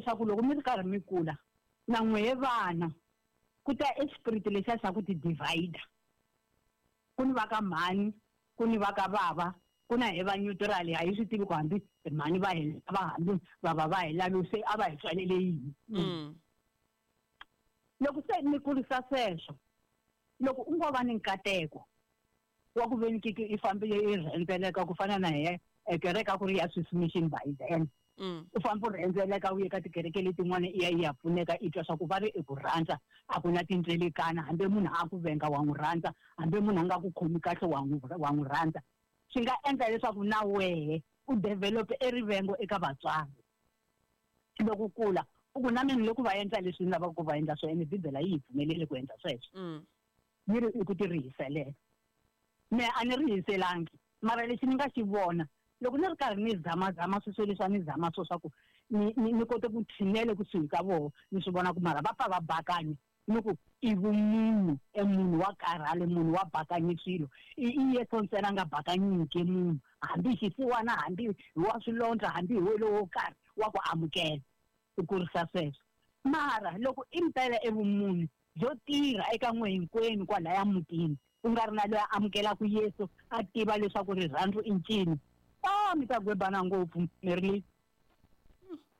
leswaku loko mi ri karhi mi kula na n'wehe vana ku ta e spirit lexiya xa ku ti divider ku ni va ka mhani ku ni va ka bava ku na hi va neutral a hi swi tivi ku hambi mhani va hi lava hambi bava va hi lavi se a va hi tswalele yini Loko se mi kurisa sweswo loko u ngo va ni nkateko wa ku veni kiki i fambile i rhendzeleka ku fana na he kereke a ku ri ya Swiss Mission by then u famba u rhendzeleka u ye ka tikereke letin'wana i ya i ya pfuneka i twa swa ku va ri i ku rhandza a ku na tindzelekana hambi munhu a ku venga wa n'wi rhandza hambi munhu a nga ku khomi kahle wa n'wi wa n'wi rhandza swi nga endla leswaku na wehe u develop e rivengo eka vatswari loko u kula u ku na mina loko va endla leswi ni lavaka ku va endla swona ene bibele yi hi pfumeleli ku endla sweswo yi ri i ku ti rihiselela me a ni rihiselangi mara lexi ni nga xi vona loko ni ri karhi ni zamazama sweswo leswi a ni zama swo swa ku ni ni ni kote ku tshinele kusuhi ka voho ni swi vona ku mara va pfa va bakanya ni ku i vumunhu e munhu wa karhale munhu wa bakanye swilo i i Yesu ntsena a nga bakanyiki munhu hambi xisiwana hambi hi wa swilondza hambi hi wele wo karhi wa ku amukela u kurisa sweswo mara loko impela evumunhu byo tirha eka n'we hinkwenu kwalaya mutini ku nga ri na loyi a amukelaka Yesu a tiva leswaku rirhandzu i ncini a mi ta gwebana ngopfu Merlin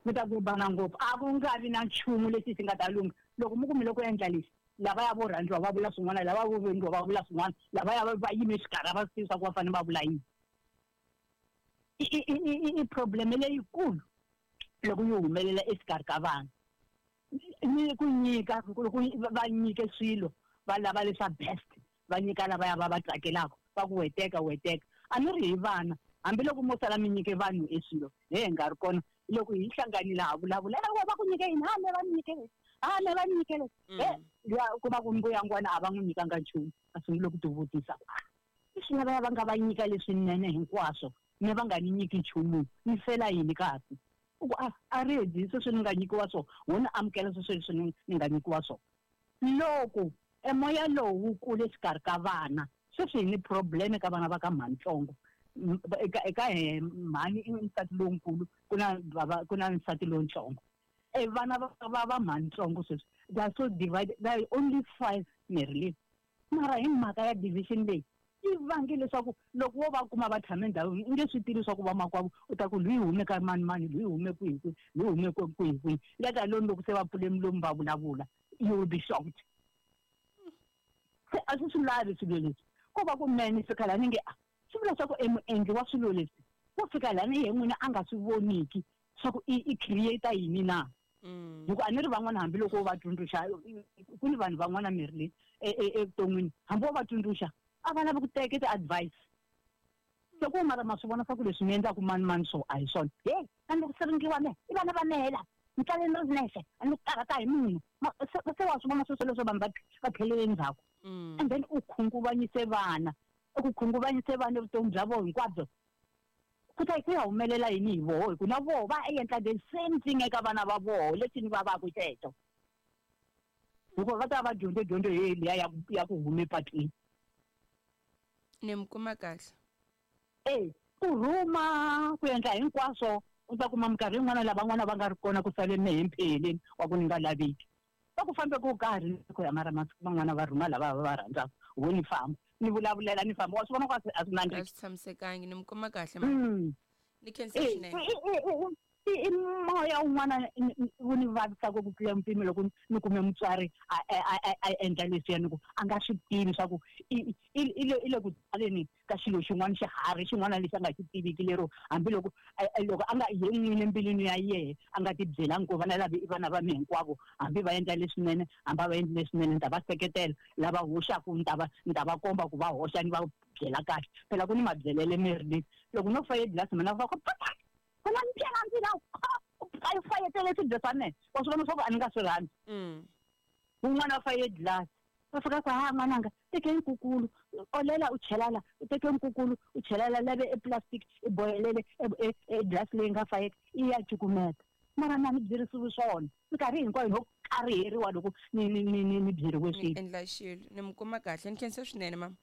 mi ta gwebana ngopfu a ku nga vi na nchumu lexi xi nga ta lungha loko mi ku mi le ku endla lexi lavaya vo rhandziwa va vula swin'wana lava vo vengiwa va vula swin'wana lavaya va yime xikarhi a va swi tivi swa ku va fanele va vula yini i problem leyikulu loko yi humelela exikarhi ka vanhu ni ku nyika loko va nyike swilo va lava leswa best va nyika lavaya va va tsakelaka va ku weteka weteka a ni ri hi vana hambiloko mo sala mi nyike vanhu e swilo he hi nga ri kona loko hi hlanganile ha vulavula e va ku nyike yini ha me va ni nyike leswi ha me va ni nyike leswi he luya u kuma ku mbuyangwana a va n'wi nyikanga nchumu a sungule ku tivutisa ku a leswi lavaya va nga va nyika leswinene hinkwaswo me va nga ni nyiki nchumu ni fela yini kasi u ku a a ready sweswi ni nga nyikiwa swona wo ni amukela sweswo leswi ni ni nga nyikiwa swona loko e moya lowu wu kule exikarhi ka vana sweswi hi ni problem ka vana va ka mhanitsongo eka eka he mhani i nsati lonkulu ku na bava ku na nsati lontsongo e vana va va va mhanitsongo sweswi they are so divided they are only 5 Marilyn mara hi mhaka ya division leyi yi vange leswaku loko wo va kuma va tshame ndhawini u nge swi tivi swa ku vamakwavo u ta ku loyi hume ka mani mani loyi hume kwihi kwihi loyi hume kwihi kwihi let alone loko se va pfule milomu va vulavula you will be shocked se a swi swi lavi swilo leswi ko va ku mene fika laha ni nge a swi vula swa ku e muendli wa swilo leswi wo fika laha ni ye n'wina a nga swi voniki swa ku i creator yini na hi ku a ni ri van'wana hambiloko wo va tsundzuxa ku ni vanhu van'wana miri leyi evuton'wini hambi wo va tsundzuxa a va lavi ku teka ti-advice se ku mara ma swi vona swa ku leswi mi endlaku mani mani so a hi swona he a ni ku siringiwa me i vana va mehela ni tlale ni ri nexe a ni ku karhata hi munhu se wa swi vona sweswo leswo vanhu va va tlhelele ndzhaku and then u khunguvanyise vana u ku khunguvanyise vana vutomi bya vona hinkwabyo ku ta ku ya humelela yini hi voho hi ku na voho va endla the same thing eka vana va voho lexi ni vavaku xexo hikuva va ta va dyondze dyondzo ye liya ya ya ku hume patwini ni mi kuma kahle e ku rhuma ku endla hinkwaswo u ta kuma minkarhi yin'wana lavan'wana va nga ri kona ku sale mehe mpheleni wa ku ni nga laveki va ku fambe ku karhi ku ya mara masiku man'wana va rhuma lava va va rhandzaka wo ni famba ni vulavulela ni famba wa swi vona ku a swi a swi a nandziki swi tshamisekangi ni mi kuma kahle ma ni khensa swinene I moya wun'wana wu ni vavisaka ku tlula mpimo loko ni kume mutswari a endla leswiya ni ku a nga swi tivi swa ku i i le i le ku tsaleni ka xilo xin'wana xiharhi xin'wana lexi a nga xi tiviki lero hambiloko loko a nga ye n'wini embilwini ya yehe a nga ti byelangi ku vana lava i vana va mi hinkwavo hambi va endla leswinene hambi a va endli leswinene ni ta va seketela lava hoxaku ni ta va ni ta va komba ku va hoxa ni va byela kahle phela ku ni mabyelele miri leyi loko no faye glasi mina va ku papa ku na ndlela ndzi la a fayetele swibye swa mina wa swi vona swa ku a ni nga swi rhandzi wun'wana wa faye glasi va fika ku ha n'wananga teke nkukulu olela u chela la u teke nkukulu u chela la lave e plastic i bohelele e glasi leyi nga fayeka i ya cukumeta mara na ni byerisiwi swona minkarhi hinkwayo no kariheriwa loko ni ni ni ni ni byeriwe ni swilo endla xilo ni mi kuma kahle ni khensa swinene mama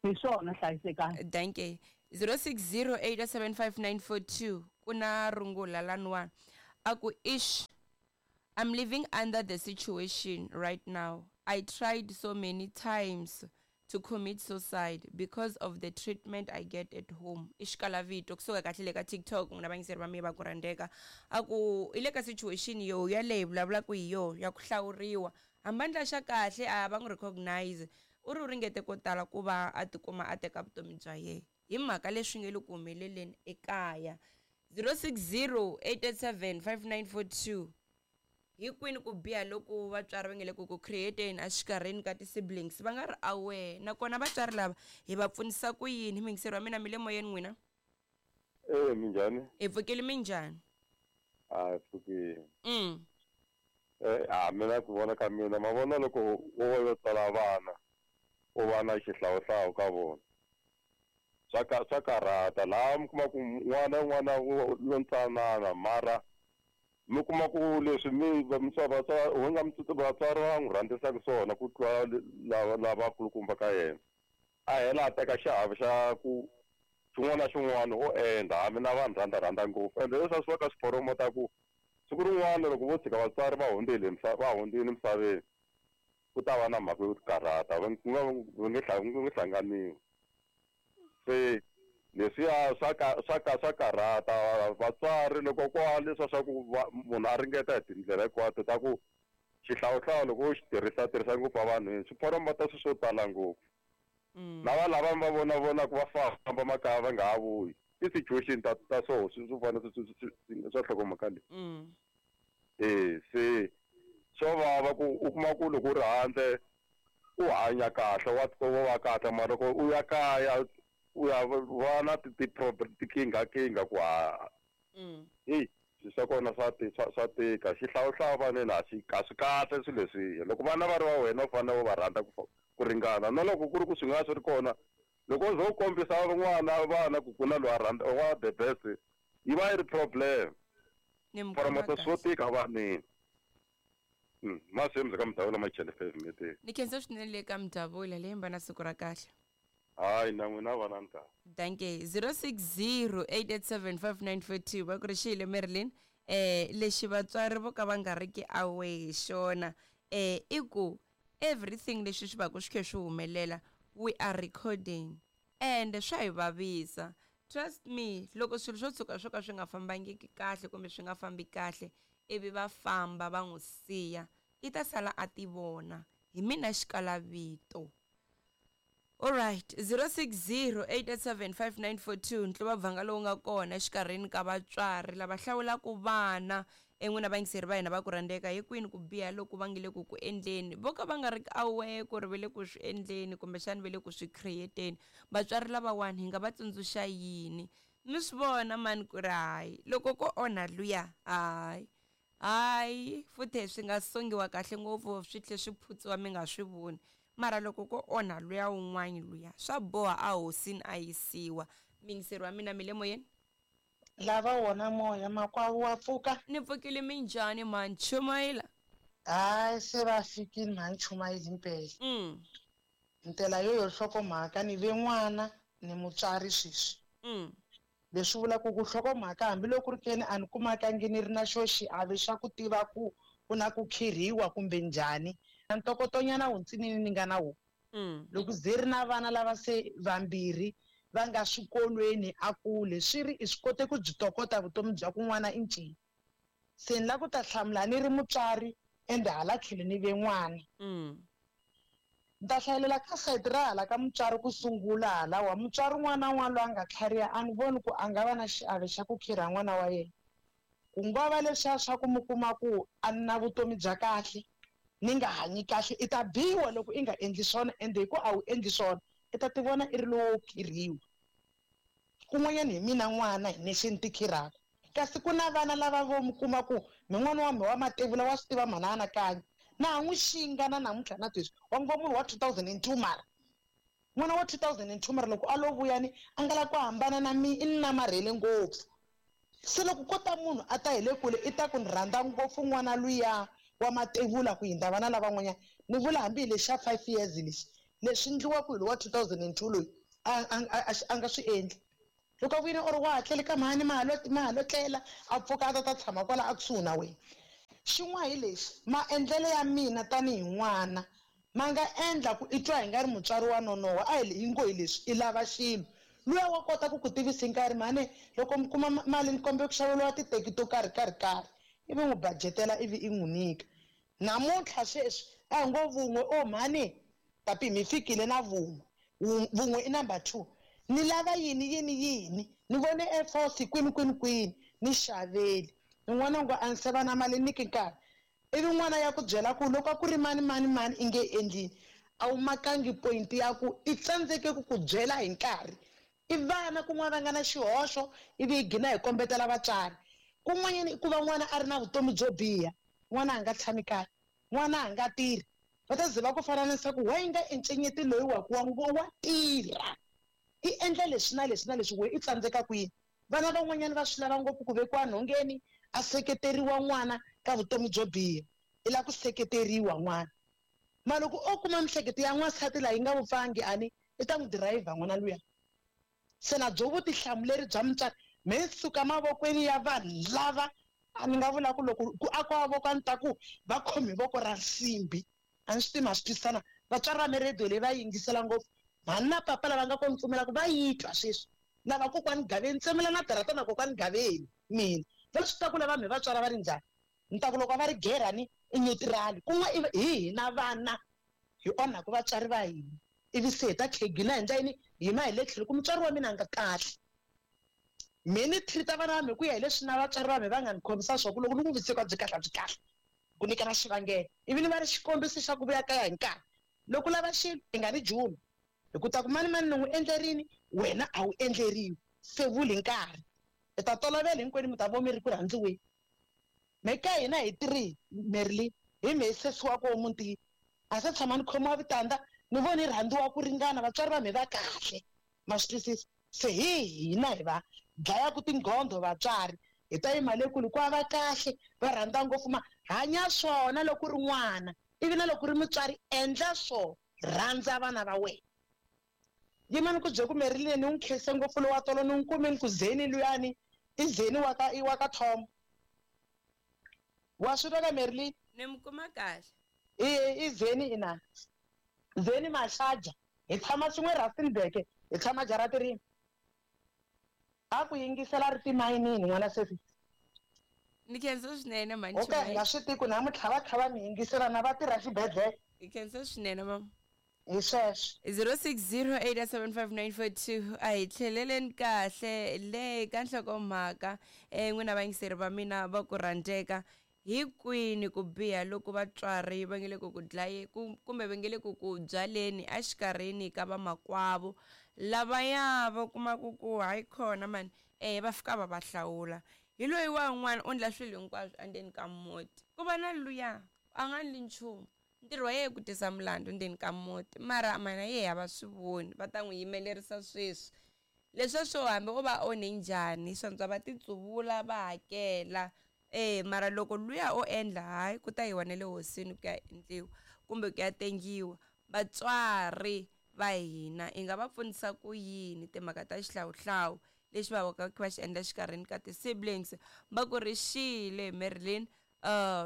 hi swona hlayisekani danke 06087594 ku na rungula laniwani. A ku ish, I'm living under the situation right now. I tried so many times to commit suicide because of the treatment I get at home. I xikalavito kusuka kahle le ka TikTok n'wina vayingiseri va mina va ku rhandzeka. A ku i le ka situation yo yaleyi vulavulaka hi yo ya ku hlawuriwa. Hambi a endla xa kahle a va n'wi recognize. U ri u ringete ko tala ku va a tikuma a teka vutomi bya yena hi mhaka leswi nge le ku humeleleni ekaya. 060 887 5942. Hi kwini ku biha loku vatswari va nge le ku ku create-eni exikarhini ka ti-siblings va nga ri aware, nakona vatswari lava hi va pfunisa ku yini? Muyingiseri wa mina, mi le moyeni n'wina? E, minjhani? Hi pfukile, minjhani? A hi pfukile. A mina ku vona ka mina, ma vona loko wo va yo tswala vana u va na xihlawuhlawu ka vona, swa karhata. Laha mi kuma ku n'wana n'wana lontsanana, mara mi kuma ku leswi mi vatswari nga vatswari va n'wi rhandzisaka swona ku tlula lava lavakulukumba ka yena, a hela a teka xiave xa ku xin'wana na xin'wana o endla hambi na vanhu rhandza ngopfu. Ende leswi a swi va ka swi promota ku siku rin'wana loko vo tshika vatswari va hundzile va hundzile emisaveni, ku ta va na mhaka yo karhata, va nge hlanganiwi. Se leswiya swa karhata vatswari loko kwa leswa swa ku munhu a ringeta hi tindlela hinkwato ta ku xihlawuhlawu loko u xi tirhisa ngopfu evanhwini, swi promota swilo swo tala ngopfu. Na lava va vona vonaka va famba makaya va nga ha vuyi, i situation ta so swi fana swa nhlokomhaka leyi. Se swo vava ku u kuma ku loko u ri handle u hanya kahle, wa va kahle, mara loko u ya kaya u ya va na tinkingha ku ha hey, swa kona swa tika. Xihlawuhlawu vaneni a swi kahle swilo leswiya. Loko vana va ri va wena u fanele u va rhandza ku ringana, na loko ku ri ku swi nga swi ri kona, loko u zo kombisa n'wana vana ku ku na loyi a rhandza wa the best, yi va yi ri problem. Promota swo tika vaneni. Masimu ka Mdavula Machele 5. Ni khensa swinene le ka Mdavula leyi mba na siku ra kahle. Hayi na n'wina vana ni kahle. Danke. 060 887 5942 va ku ri xile Marilyn. Lexi vatswari vo ka va nga ri ki aware hi xona, i ku everything leswi swi va ku swi khe swi humelela, we are recording and swa hi vavisa. Trust me, loko swilo swo tshuka swo ka swi nga fambangiki kahle kumbe swi nga fambi kahle, ivi va famba va n'wi siya, i ta sala a ti vona hi mina xikalavito. Alright, 060 887 5942 ntluva bvanga lowu nga kona exikarhini ka vatswari lava hlawulaka vana en'wina vayingiseri va hina va ku rhandzeka, hi kwini ku biha loku va nge le ku ku endleni, vo ka va nga ri aware ku ri va le ku swi endleni kumbexani va le ku swi create-eni. Vatswari lavawani hi nga va tsundzuxa yini? Mi swi vona mani ku ri hayi loko ko onha luya, hayi hayi futhi swi nga songiwa kahle ngopfu swi tlhe swi phutsiwa mi nga swi voni, mara loko ko onha luya wun'wani luya swa boha a hosini a yisiwa. Muyingiseri wa mina, mi le moyeni? Lava wona moya makwavo wa pfuka. Ni pfukile, minjhani mhani Chumayela? Hayi se va fikile mhani Chumayela impela. Ndlela yo yo nhlokomhaka ni ve n'wana ni mutswari sweswi. Leswi vulaka ku nhlokomhaka hambiloko ri keni a ni kumakangi ni ri na xo xiave xa ku tiva ku ku na ku khirhiwa kumbe njhani, na ntokotonyana wuntsinini ni nga na wona. Loko ze ri na vana lava se vambirhi va nga swikolweni a kule, swi ri i swi kote ku byi tokota vutomi bya ku n'wana i ncini. Se ni la ku ta hlamula ni ri mutswari ende hala tlhelo ni ve n'wana. Ni ta hlayelela ka sayiti ra hala ka mutswari ku sungula halawa. Mutswari un'wana na un'wana loyi a nga tlhariha a ni voni ku a nga va na xiave xa ku khirha n'wana wa yena. Ku nga va leswiya swa ku mi kuma ku a ni na vutomi bya kahle, ni nga hanyi kahle, i ta biwa loko i nga endli swona, ende hi ku a wu endli swona i ta ti vona i ri lowo khirhiwa. Kun'wanyana hi mina n'wana hi nexe ni ti khirhaka, kasi ku na vana lava vo mi kuma ku mi n'wana wa me wa mativula wa swi tiva mhana anakanya, na ha n'wi xinga na namuntlha na sweswi wa ngo munhu wa 2002, mara n'wana wa 2002 mara loko a lo vuyani a nga la ku hambana na mi, i ni namarhele ngopfu. Se loko ko ta munhu a ta hi le kule i ta ku ni rhandza ngopfu n'wana luya wa mativula ku hindza vana lavan'wanyana. Ni vula hambi hi lexi xa 5 years lexi, leswi endliwaka hi lowa 2002 loyi a nga swi endli. Loko a vuyile or wa ha tlele ka mhani ma ha lo tlela, a pfuka a ta ta tshama kwala a kusuhi na wena. Xin'wana hi lexi, maendlelo ya mina tanihi n'wana ma nga endla ku i twa hi nga ri mutswari wa nonoha. A hi ngo hi leswi i lava xilo, luya wa kota ku ku tivisa hi nkarhi, mhani loko mi kuma mali ni kombela ku xaveriwa titeki to karhi karhi karhi, ivi n'wi budgetela, ivi i n'wi nyika. Namuntlha sweswi a hi ngo vun'we, o mhani tapi mi fikile na vun'we, vun'we i number 2, ni lava yini yini yini, ni vone Air Force kwini kwini kwini, ni xaveli. N'wana ngo a ni se va na mali, nyiki nkarhi. Ivi n'wana ya ku byela ku loko a ku ri mani mani mani i nge endlini, a wu makangi point ya ku i tsandzeke ku ku byela hi nkarhi. I vana kun'wana va nga na xihoxo, ivi hi gina hi kombetela vatswari. Kun'wanyana i ku va n'wana a ri na vutomi byo biha, n'wana a nga tshami kaya, n'wana a nga tirhi, va ta ze va ku fananisa ku wa yi nga encenyeti loyi wa ku wa ngo wa tirha, i endla leswi na leswi na leswi, we i tsandzeka kwini. Vana van'wanyana va swi lava ngopfu ku vekiwa nhongeni, a seketeriwa n'wana ka vutomi byo biha, i lava ku seketeriwa n'wana. Ma loko o kuma mihleketo ya n'wansati laha yi nga vupfangi, ani i ta n'wi dirayivha n'wana luya. Se na byo vutihlamuleri bya mutswari me suka mavokweni ya vanhu lava a ni nga vula ku loko ku akiwa voko, a ni ta ku va khomi voko ra nsimbi. A ni swi tivi ma swi twisisana. Vatswari va me radio leyi va yingisela ngopfu, mhani na papa lava nga kona pfumelaka va yi twa sweswi. Lava kokwani Gaveni tsemela na darata na kokwani Gaveni, mina va swi ta ku lava me vatswari va ri njhani. Ni ta ku loko va ri gerani i neutral, kun'we hi hina vana hi onhaku vatswari va hina, ivi se hi ta khegina hi ndla yini, yima hi le tlhelo ku mutswari wa mina a nga kahle. Me ni treat-a vana va me ku ya hi leswi na vatswari va me va nga ni khomisa swo, ku loko ni n'wi vutise ku a byi kahle, a byi kahle, ku nyika na xivangelo, ivi ni va ri xikombiso xa ku vuya kaya hi nkarhi. Loko u lava xilo i nga ni jumi, hi ku ta ku mani mani ni n'wi endlerini, wena a wu endleriwi, se vuli nkarhi i ta tolovela hinkwenu mi ta vo mi ri ku rhandziweni. Me ka hina hi 3 Merlin hi me sesi wa koho mutini, a se tshama ni khomiwa vitanda, ni voni rhandziwa ku ringana, vatswari va me va kahle, ma swi twisisa. Se hi hina hi va dlayaku tinghondo vatswari, hi ta yima le kule ku va kahle, va rhandza ngopfu. Ma hanya swona loko u ri n'wana, ivi na loko u ri mutswari endla swo rhandza vana va wena. Yimani ku bye ku Merlin ni n'wi khense ngopfu lowa tolo, ni n'wi kumeni ku zeni luyani i zeni wa ka i wa ka Tom, wa swi twa ka Merlin? Ni mi kuma kahle. I zeni ina zeni Mashaja, hi tshama swin'we Rustenburg, hi tshama jarati rin'we. A ku yingisela ri timayinini n'wana sesi. Ni khensa swinene mhani. O ka hi nga swi tiku namuntlha va kha va mi yingisela na va tirha xibedhlele. Hi khensa swinene mama. Hi sweswo. 06087594 a hi tlheleleni kahle le ka nhlokomhaka. N'wina vayingiseri va mina va ku rhandzeka, hi kwini ku biha loko vatswari va nge le ku ku dlaye kumbe va nge le ku ku byaleni exikarhini ka vamakwavo lavaya va kumaka ku hayi khona mani, va fika va va hlawula hi loyi wa un'wana u endla swilo hinkwaswo endzeni ka muti, ku va na luya a nga endli nchumu, ntirho wa yena ku tisa mulandu ndzeni ka muti, mara mana yehe a va swi voni, va ta n'wi yimelerisa sweswi leswiya swo hambi o va onhe njhani, swantswa va titsuvula va hakela. Mara loko luya o endla hayi ku ta yiwa na le hosini ku ya endliwa kumbe ku ya tengiwa. Vatswari va hina hi nga va pfunisa ku yini timhaka ta xihlawuhlawu lexi va va va xi endla xikarhini ka ti-siblings? Va ku ri xile Merlin,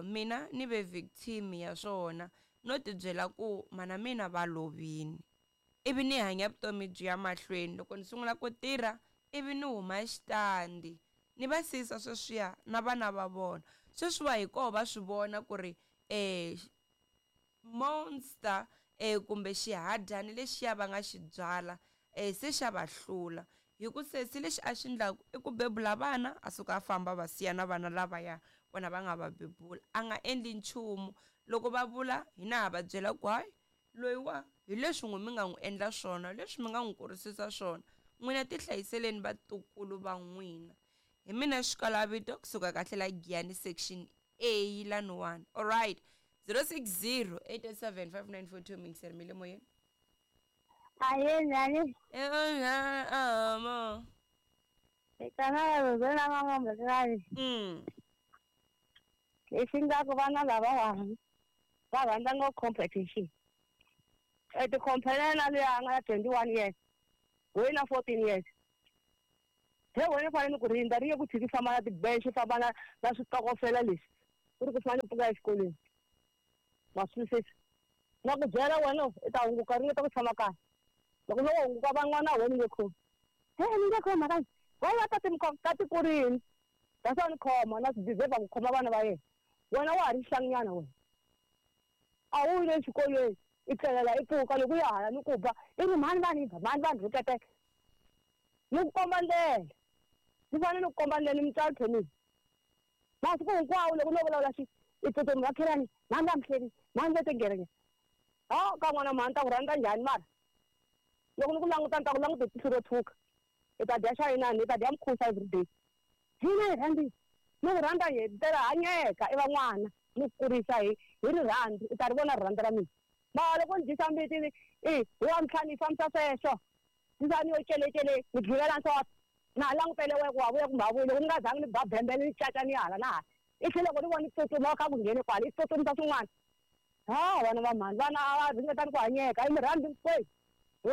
mina ni ve victim ya swona, no tibyela ku mana mina va lovini, ivi ni hanya vutomi byi ya mahlweni. Loko ni sungula ku tirha ivi ni huma xitandi, ni va siyisa sweswiya na vana va vona sweswiwa, hi koho va swi vona ku ri monster kumbe xihadyani lexiya va nga xi byala se xa va hlula, hi ku sesi lexi a xi endlaku i ku bebula vana, a suka a famba, va siya na vana lavaya vona va nga va bebula, a nga endli nchumu. Loko va vula hina ha va byela ku hayi loyiwa hi leswi n'wi mi nga n'wi endla swona, leswi mi nga n'wi kurisisa swona, n'wina tihlayiseleni vatukulu va n'wina. Hi mina Xikalavito kusuka kahle la Giyani section A laniwani. Alright, 060 887 5942, mingiseri mi le moyeni. Aye, njhani? Amo. Vitana na mama. Lexi nga ku vana lavawani va rhandza ngopfu competition. E ti compare na luya a nga na 21 years, loyi na 14 years. He wena fanele ku rindza ri ye ku tshiki famba na tibench famba na switokofela leswi ku ri ku fanele pfuka exikolweni. Ma swi twisisa? Na ku byela wena i ta hunguka ringeta ku tshama kaya. Loko no hunguka van'wana wena nge khomi. He ni nge khomi mhaka why va tati mi khoma tati kurini. That's why ni khoma na swi deserve ku khoma vana va yena. Wena wa ha ri xihlanginyana wena. A wu yile exikolweni i tlelela i pfuka loko u ya hala ni ku ba i ri mhani va ni ba mhani va ni rhuketela. Ni ku komba ndlela. Ni fanele ni ku komba ndlela ni mutswari phela. Masiku hinkwawo loko no vulavula xi i tsutsuma makhelwani mhani va mihleli mhani va tingerenge. Ha ka n'wana mhani ta ku rhandza njhani mara? Loko ni ku languta ni ta ku languta hi tihlo ro tshuka. I ta dya xa inani i ta dya mukhusa everyday. Hina hi rhandzi ni ku rhandza hi ndlela hanyeka i van'wana ni ku kurisa hi rirhandzu i ta ri vona rirhandzu ra mina. Mara loko ni dyisa mbiti i hi wa ntlhanu yi fambisa sweswo. Ndza ni yo celecele ni dlivela nhloko. Na langutele we ku wa vuya kumbe a vuyi loko ni nga zangi ni ba bembele ni caca ni hala na hala. I tlhela loko ni vona tsutsuma kha ku nghene kwala i tsutsumisa swin'wana. Ha vana va mhani vana a va ringetani ku hanyeka i mi rhandzi hinkwenu.